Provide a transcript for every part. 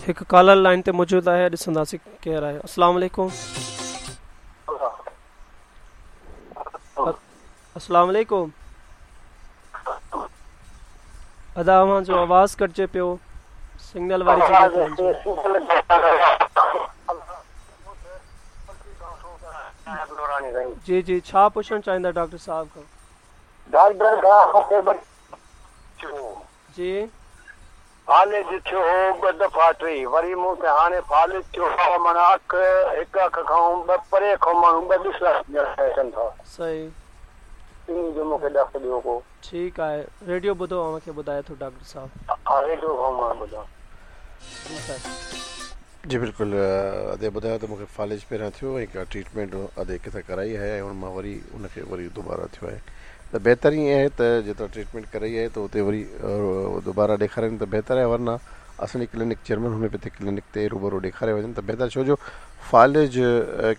هڪ caller line تي موجود آهي ڏسنداسين ڪير آهي. السلام عليڪم. السلام عليڪم. ادا اوهان جو آواز ڪٽجي پيو سگنل واري جڳهه تي وڃجو. جي جي ڇا پڇڻ چاهيندا ڊاڪٽر صاحب کان؟ ڊاڪٽر کان مون کي جي. فالج ٿيو هو ٻه دفعا ٽي وري مون کي هاڻي فالج ٿيو آ معنيٰ اک هڪ اک کان ٻه پري کان ماڻهو ٻه ڏسڻ اچن ٿا. صحيح. انهي جو مون کي ڏس ڏيو ڪو. ٺيڪ آهي ريڊيو ٻڌو اوهان کي ٻڌائي ٿو ڊاڪٽر صاحب. ها ريڊيو کان مان ٻڌان. جي سر. جي بلڪل ادي ٻڌايو ته مونکي فالج پهريان ٿيو ۽ ڪا ٽريٽمينٽ ادي ڪٿان ڪرائي آهي ۽ ان مان وري ان کي وري دوباره ٿيو آهي ته بهتر ائين آهي ته جتان ٽريٽمينٽ ڪرائي آهي ته اتي وري دوباره ڏيکارين ته بهتر آهي ورنه اسان جي ڪلينڪ جرمن هوميوپيٿڪ ڪلينڪ تي روبرو ڏيکاري وڃن ته بهتر ڇو جو فالج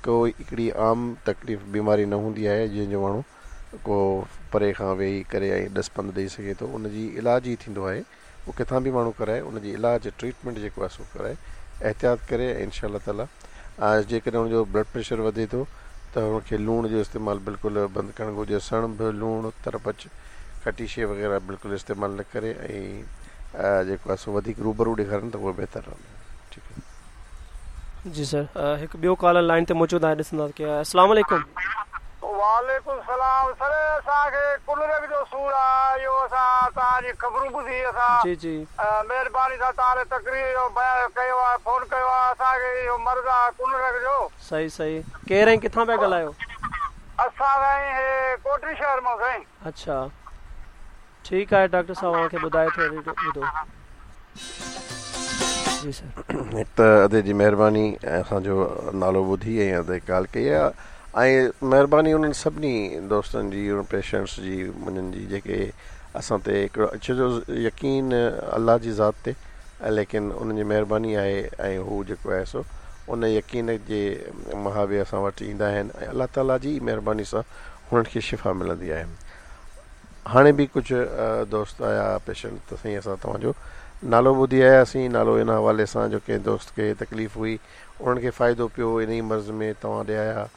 ڪو هڪڙي عام تڪليف بيماري نه هوندي آهي جنهن جو ماڻهو ڪو پري کان ويهي ڪري ۽ ڏس پنڌ ڏئي سگهي ٿو ان جي علاج ئي ٿيندو آهي اهو ڪٿان به ماڻهو ڪرائي ان جي علاج ٽريٽمينٽ جيڪو آهي سو ڪرائي احتياط ڪري ۽ انشاء الله تعالي جيڪڏهن ان جو بلڊ پريشر وڌي ٿو ته ان کي لوڻ جو استعمال بلڪل بند ڪرڻ گهرجي سڻڀ لوڻ ترپچ کٽي شي وغيره بلڪل استعمال نه ڪري ۽ جيڪو آهي سو وڌيڪ روبرو ڏيکارن ته اهو بهتر رهندو ٺيڪ آهي. جي سر هڪ ٻيو ڪالر لائن تي موجود آهي ڏسندا ڪير آهي السلام عليڪم. وعليڪم السلام سر اسان کي ڪنرڪ جو سور آ اهو اسان توهان جي خبرون ٻڌي اسان جي جي. مهرباني سان توهان ڏي تقرير جو بيان ڪيو آ فون ڪيو آ اسان کي اهو مرض آ ڪنرڪ جو. صحيح صحيح ڪير ۽ ڪٿان پيا ڳالهايو. اسان سائين هي ڪوٽڙي شهر مان سائين. اڇا ٺيڪ آهي ڊاڪٽر صاحب اوهان کي ٻڌائي ٿو ريڊيو ٻڌو جي سر. هڪ ته ادي جي مهرباني ۽ اسان جو نالو ٻڌي ۽ ادي ڪال ڪئي آهي ۽ مهرباني انهن سڀني دوستن جي انهن پيشنٽس جي انهن جي جيڪي اسان تي هڪڙو ڇو جو يقين الله جي ذات تي ليڪن انهن جي مهرباني آهي ۽ هو جيڪو آهي سو ان يقين جي مهابي اسان وٽ ايندا آهن ۽ الله تعالي جي مهرباني سان هنن کي شفا ملندي آهي هاڻي به ڪجهه دوست آيا پيشنٽ ته سائين اسان توهان جو نالو ٻڌي آياسين نالو ان حوالي سان جو ڪنهن دوست کي تڪليف هئي انهن کي فائدو پيو انهي مرض ۾ توهان ڏي آيا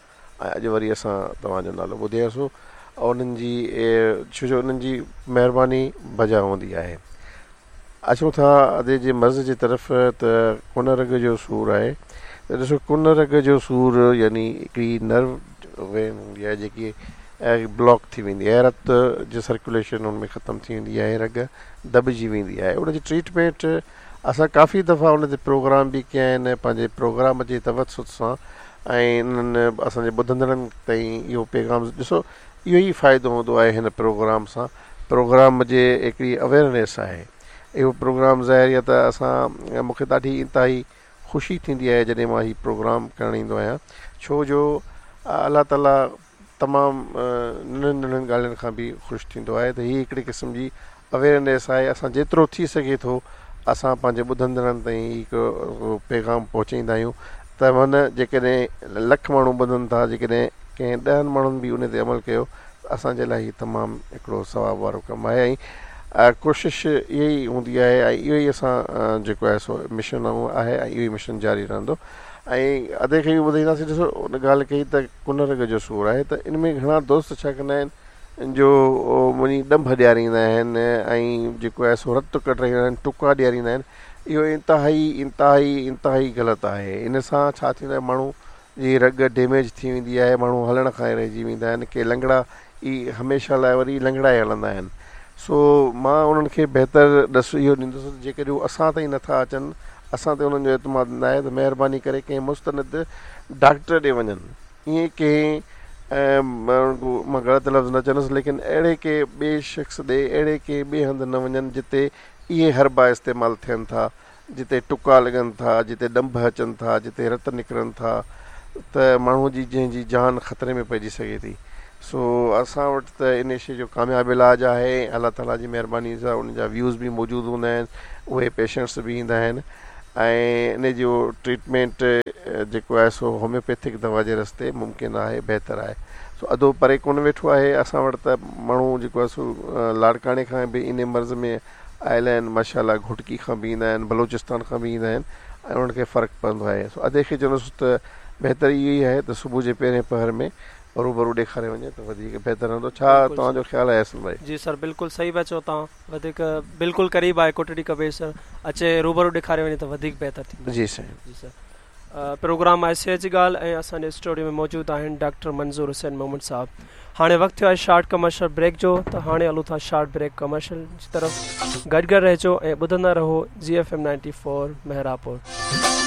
۽ اڄ وري اسان توهان جو نالو ٻڌي آياسون انهن جي ڇو جو انهن جي مهرباني بجا هوندي آهي اچون ٿا ادي جي مرض جي طرف ته ڪن رڳ جو سور آهي ته ڏسو ڪن رڳ جو سور يعني هڪڙي نرو وين هوندي آهي جيڪي بلاڪ ٿي ويندي آهي رت جي سرڪيوليشن ان ۾ ختم ٿي ويندي آهي رڳ دٻجي ويندي آهي ان جي ٽريٽمينٽ اسان ڪافي دفعا ان تي پروگرام به ڪيا آهن پنهنجي پروگرام جي توسط سان ۽ انهن اسان جي ٻڌندڙن تائين اهو پيغام ڏسو اهو ئي فائدو هوندو آهي هن پروگرام سان پروگرام جي هڪڙي اويئرنيس آهي اهو پروگرام ظاهر آهي ته اسان مون کي ڏاڍي انتهائي خوشي ٿيندي آهي جڏهن مان هي پروگرام ڪرڻ ايندو آهيان ڇو جو الله تعالي تمام ننڍن ننڍن ڳالهين کان به خوش ٿيندو آهي ته هي هڪڙي قسم جي اويئرنيس آهي اسان جيترو ٿي سگهي ٿو اسان پنهنجي ٻڌندڙن تائين هي هڪ پيغام پهچائيندا آهيون ته من جيڪڏهن لک ماڻهو ٻڌن ٿا جيڪڏهن ڪنهن ڏهن ماڻهن به ان تي عمل ڪيو اسان جي لاء هي تمام هڪڙو ثواب وارو ڪم آهي ۽ ڪوشش اها ئي هوندي آهي ۽ اهو ئي اسان جيڪو آهي سو مشن آهي ۽ اهو ئي مشن جاري رهندو ۽ ادي کي به ٻڌائينداسين ڏسو ان ڳالهه ڪئي ته ڪن رڳ جو سور آهي ته ان ۾ گهڻا دوست ڇا ڪندا آهن جو وڃي ڏنڀ ڏياريندا آهن ۽ جيڪو آهي سو رت ڪڍرائيندا آهن ٽڪا ڏياريندا آهن اهو انتهائي انتهائي انتهائي غلط آهي ان سان ڇا ٿيندو آهي ماڻهو جي رڳ ڊيميج ٿي ويندي آهي ماڻهو هلڻ کان ئي رهجي ويندا آهن ڪي لنگڙا ئي هميشه لاء وري لنگڙا ئي هلندا آهن سو مان انهن کي بهتر ڏس اهو ڏيندس ته جيڪڏهن هو اسان تائين نٿا اچن اسان تي انهن جو اعتماد نه آهي ته مهرباني ڪري ڪنهن مستند ڊاڪٽر ڏي وڃن ائين ڪنهن مان غلط لفظ نه چوندس ليڪن اهڙي ڪنهن ٻئي شخص ڏي اهڙي ڪنهن ٻئي هنڌ نه وڃن جتي اهي حربا استعمال ٿين ٿا جتي ٽڪا لڳن ٿا، جتي ڏنڀ اچن ٿا، جتي رت نڪرن ٿا ته ماڻهو جي جنهن جي جان خطري ۾ پئجي سگهي ٿي. سو اسان وٽ ته ان شيء جو ڪامياب علاج آهي ۽ الله تعاليٰ جي مهرباني سان ان جا ويوز به موجود هوندا آهن، اهي پيشنٽس به ايندا آهن ۽ ان جو ٽريٽمينٽ جيڪو آهي سو هوميوپيٿڪ دوا جي رستي ممڪن آهي بهتر آهي. سو ادو پري ڪونه ويٺو آهي اسان وٽ ته ماڻهو جيڪو آهي سو لاڙڪاڻي کان به ان مرض ۾ آيل آهن ماشاء الله گهوٽڪي کان به ايندا آهن بلوچستان کان به ايندا آهن ۽ انهن کي فرق پوندو آهي سو ادي کي چوندس ته بهتر اهو ئي آهي ته صبح جي پهرين پهر ۾ روبرو ڏيکاري وڃي ته وڌيڪ بهتر رهندو ڇا توهان جو خيال آهي احسن ڀائي؟ جي سر بلڪل صحيح پيا چئو توهان وڌيڪ بلڪل قريب آهي ڪوٽڙي ڪبير اچي روبرو ڏيکاري وڃي ته وڌيڪ بهتر ٿيندو. جي سائين. جي سر پروگرام آهي صحت جي ڳالهه ۽ اسان جي اسٽوڊيو ۾ موجود آهن ڊاڪٽر منظور حسين ميمڻ صاحب هاڻي وقت ٿيو آهي شارٽ ڪمرشل بريڪ جو ته هاڻي هلون ٿا شارٽ بريڪ ڪمرشل جي طرف گڏ گڏ رهجو ۽ ٻڌندا رهو جي ايف ايم 94 محرابپور.